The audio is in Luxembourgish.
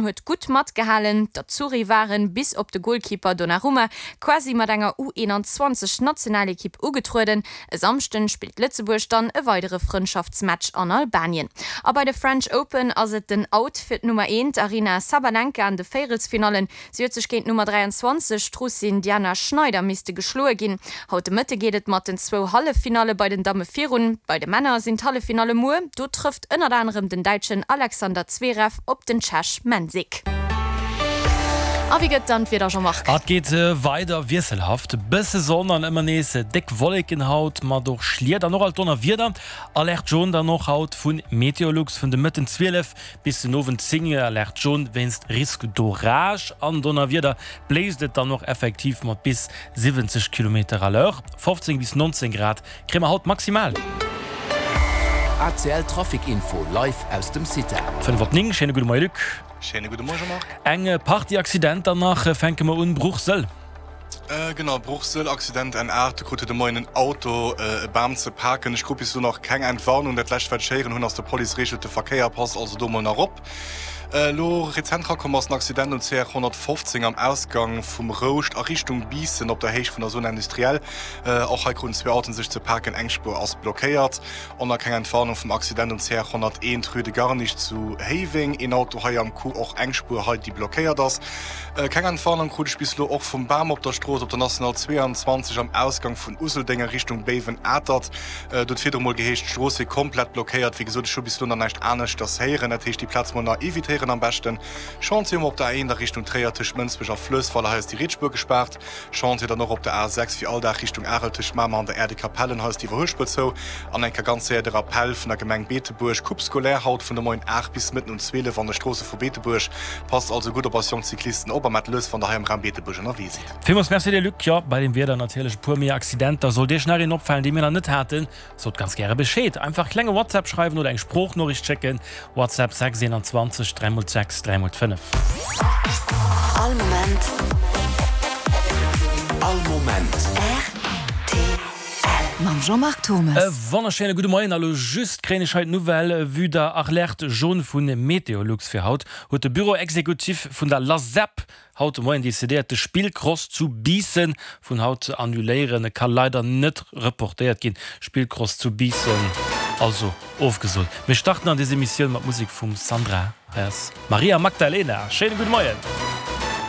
Huet gutt matgehalen. D'Azzurri waren, bis op de Goalkeeper Donnarumma, quasi mat enger U21 Nationalekipp ugetrueden. E Samschden spillt Lëtzebuerg dann e weidere Frëndschaftsmatch an Albanien. A bei de French Open ass et den Out fir d'Nummer 1 Aryna Sabalenka an de Véierelsfinallen. Si huet sech géint d'Nummer 23, d'Russin Diana Schneider, misste geschloe ginn. Haut de Mëtte geet et mat den zwou Halleffinalle bei den Damme virun. Bei de Männer sinn d'Halleffinalle muer. Do trëfft ënnert anerem den Däitschen Alexander Zverev op den Tschech Mensik. A wéi gëtt dann d'Wieder, Jean-Marc? Et geet weider wiesselhaft, bësse Sonn an ëmmer nees déck Wolleken haut, mat och Schliet an och alt Donnerwieder. Alerte jaune dann och haut vu Meteolux vun de Mëtten 12 Bis den Owend 10 Auer Alerte jaune wéinst Risque d'orage an Donnerwieder. Bléist et dann och effektiv mat bis 70 Kilometer à l'heure. 15 bis 19 Grad kréie mer haut maximal. ACL Trafic Info live aus dem CITA. 5 op 9, schéine gudde Moie Luc. Schéine gudde Moie Jean-Marc. Eng Partie Accidenter nach, fänke mer un, Bruchsel. Genau, Bruchsel, Accident N8, do krut de Moien en Auto e Bam ze paken. Ech krut bis elo nach keng Entwarnung. Dat lescht wat ech héieren hunn ass, de Police reegelt de Verkéier, passt also do mol nach op. Elo rezent rakomm ass en Accident um CR 115 am Ausgang vum Rouscht a Richtung Biissen op der Héicht vun der Zone industrielle. Och hei kruten zwee Autoen sech ze paken, eng Spuer ass blockéiert. Och nach keng Entwarnung vum Accident um CR 101, Rue de Garnich zu Héiweng. Een Auto hei am Coup, och eng Spuer hei déi blockéiert ass. Keng Entwarnung krut ech bis elo och vum Bam op der Strooss op der National 22 am Ausgang vun Useldeng a Richtung Béiwen-Atert. Do huet virdru mol geheescht, d'Strooss wier komplett blockéiert. Wéi gesot, ech hu bis elo nach näischt aneschters héieren. Dat heescht, déi Plaz mol nach evitéieren am beschten. Chantier hu mer op der A1 a Richtung Tréier tëscht Mënsbech a Fluessweiler. Hei ass déi riets Spuer gespaart. Chantier dann och op der A6 wéi all Dag Richtung Arel tëscht Mamer an der Aire de Capellen. Hei ass d'Iwwerhuelspuer zou. An eng Kéier ganz séier de Rappell vun der Gemeng Beetebuerg, Coupe scolaire haut vun de Moien 8 bis Mëtten un 12 an de Stroosse vu Beetebuerg. Passt also gutt op eis jonk Cyclisten op a maacht lues wann der hei am Raum Beetebuerg ënnerwee sidd. Villmools Merci dir Luc. Jo, bei dem Wieder natierlech e puer méi Accidenter. Sollt Iech nach een opfalen, dee mir nach net haten, sot ganz gäre Bescheed. Einfach klenge WhatsApp schreiwen oder eng Sproochnoriicht schécken, WhatsApp 6 21 3 x 6 3 x 5. All Moment. All Moment. Rtl. Mam Jean-Marc Thommes. E wonnerschéine gudde Moien. A lo just kréien ech hei d'Nouvelle, Vue der Alerte jaune vu Meteolux fir haut, huet de Bureau exécutif vun der LASEP haut de Moien decidéiert, de Spillcross zu Biissen vun haut ze annuléieren. E ka leider net reportéiert ginn. Spillcross zu Biissen also ofgesot. Mir starten an des Emissioun mat Musek vum Sandra. Hei ass Maria Magdalena. Schéine gudde Moien.